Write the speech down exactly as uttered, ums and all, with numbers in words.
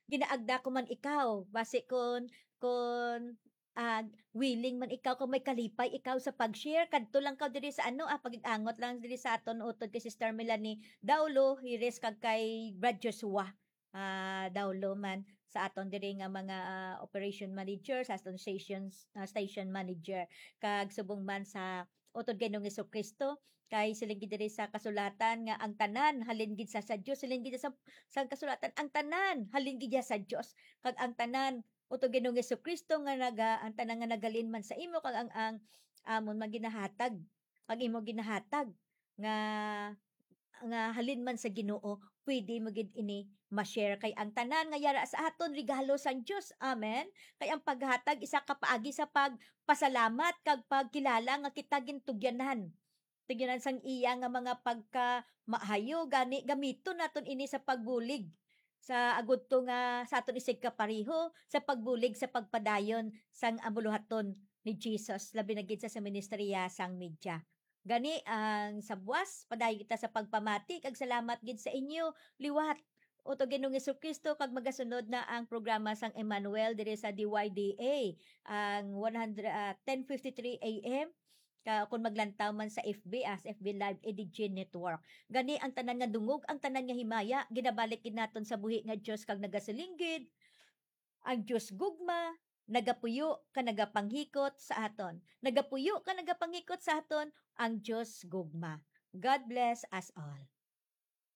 ginaagda ko man ikaw, basi kun, kun, ah, willing man ikaw, kung may kalipay ikaw sa pag-share, kadto lang ka diri sa ano, ah, pag-angot lang diri sa aton utod kay Sister Melanie Daulo, Hires, kag kay Brad Joshua, ah, Daulo man sa aton diri nga mga, ah, operation manager, sa aton stations, ah, station manager, kag subong man sa utod kay Ginoong Jesu-Cristo, kay siling gid diri sa kasulatan nga ang tanan halin gid sa, sa Dios, siling gid sa, sa kasulatan, ang tanan halin gid sa Dios, kag ang tanan utod Ginoong Jesu-Cristo nga naga-, ang tanan nga naghalin man sa imo, kag ang, ang amon man ginahatag, ang imo ginahatag nga, nga halin man sa Ginoo, pwede mo gid ini ma-share, kay ang tanan nga yara sa aton regalo sang Dios. Amen. Kay ang paghatag isa ka paagi sa pagpasalamat kag pagkilala nga kita gintugyanan. Tugyanan sang iya nga mga pagkamaayo, gani gamiton naton ini sa pagbulig sa agudto nga sa aton isigkapareho sa pagbulig sa pagpadayon sang amuluhaton ni Jesus, labi na gid sa, sa ministeriya sang media. Gani, ang sa buwas, padayon kita sa pagpamati, kag salamat gid sa inyo liwat. Utod Ginoong Jesu-Cristo, kag magasunod na ang programa sang Emmanuel diri sa D Y D A, ang one hundred, ah, ten fifty-three A M, ka, kung maglantaw man sa F B, ah, sa F B Live, Edijin Network. Gani, ang tanan nga dungog, ang tanan nga himaya, ginabalik gid naton sa buhi nga Dios, kag nagasiling gid, ang Dios gugma, nagapuyo ka nagapanghikot sa aton. Nagapuyo ka nagapanghikot sa aton ang Dios gugma. God bless us all.